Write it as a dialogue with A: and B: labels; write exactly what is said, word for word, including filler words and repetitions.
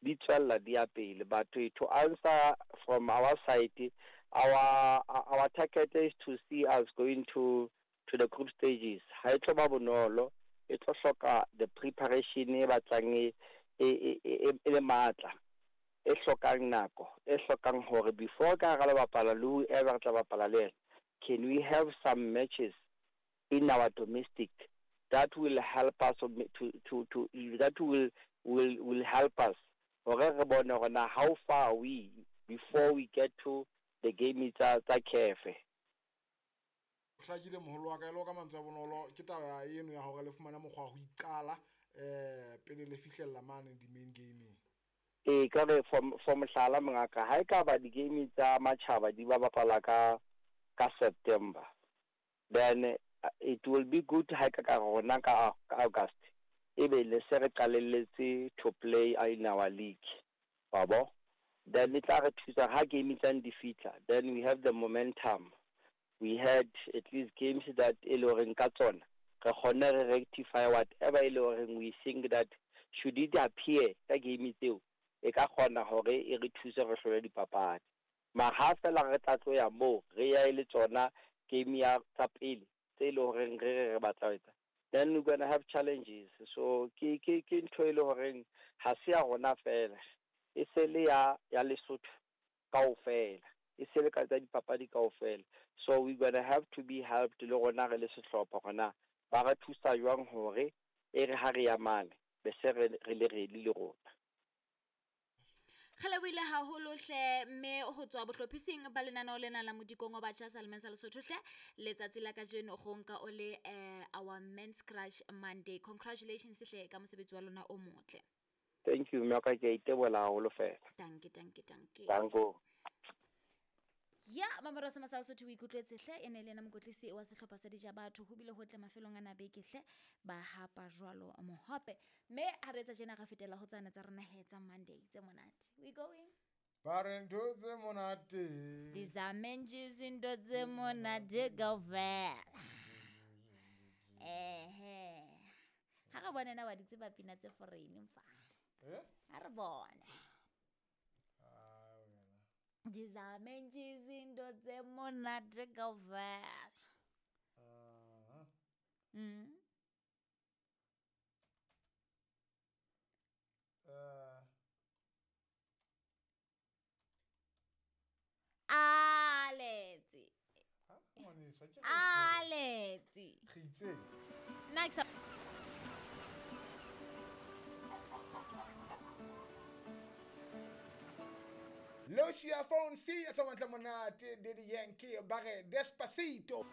A: di tswella di ya pele. But to, to answer from our side, our our target is to see us going to to the group stages. Ha e tlo ba bonolo, e tlo hloka the preparation e batlang e e e e le matla, e hlokang nako, e hlokang hore before ka hara le bapala le whoever re tla bapala le yena, can we have some matches in our domestic that will help us to to to that will will will help us hore re bone hore na how far are we before we get to the game tsa tsa C A F.
B: Hlakile, moholo wa ka. E le ka mantswe a bonolo, ke taba eno ya hore le fumane mokgwa wa ho iqala um pele le fihlella mane di-main gaming.
A: Ee, ka re for for mohlala, mongaka, ha e ka ba di-game tsa matjhaba di ba bapala ka ka September, then uh, it will be good ha e ka ka rona ka ka August e be le se re qalelletse to play in our league, wa bo. Then e tla re thusa ha game tsane di fihla, then we have the momentum. We had at least games that e le horeng ka tsona re kgonne re rectify whatever e le horeng we think that should it appear ka game tseo, e ka kgona hore e re thuse re hlole dipapadi. Mara ha fela re tla tloya moo re ya e le tsona game ya tsa pele tse e le horeng re re re batla ho etsa, then we're gonna have challenges. So ke ke ke ntho e le horeng ha se ya rona fela, e se le ya ya Lesotho kaofela, e se le ka tsa dipapadi kaofela. So we gonna have to be helped le rona re le sehlopha, hore ba re thusa jwang hore e re ha re ya mane be se re re le ready le rona.
C: Re lebohile haholo hle, mme ho tswa bohlophising ba lenaneo lena la Modikong wa Batjha Salemeng sa Lesotho hle, letsatsi la kajeno go nka o le eh, our Men's Crush Monday. Congratulations hle ka mosebetsi wa lona o motle.
A: Thank you, mme wa ka, ke a itebola haholo fela.
C: Danke, danke, danke.
A: Danko.
C: Ya mamero sa masala Sotho, o ikutlwetse hle, e ne le ena mokwetlisi wa sehlopha sa Dijabatho. Ho bile ho tle mafelong a nabeke hle, ba hapa jwalo mohope. Mme ha re etsa tjena, ra fetela ho tsane tsa rona he tsa Monday tse monate. We going.
B: Ba re ntho tse monate.
C: Dizame nje izinto tse monate kaofela. Ehe, ha re bone na wa di tseba pina tse foreign mfa.
B: Eh?
C: Ha re bone.
B: Ah, wena.
C: Dizame nje izinto tse monate kaofela.
B: Ah.
C: mm.
B: Eh,
C: Aletsi.
B: Ha, ngwaneso, ke
C: Aletsi.
B: Re itseng?
C: Nna ke sa
B: Lucia Phone C ya tsa matla monate, Daddy Yankee, ba re Despacito.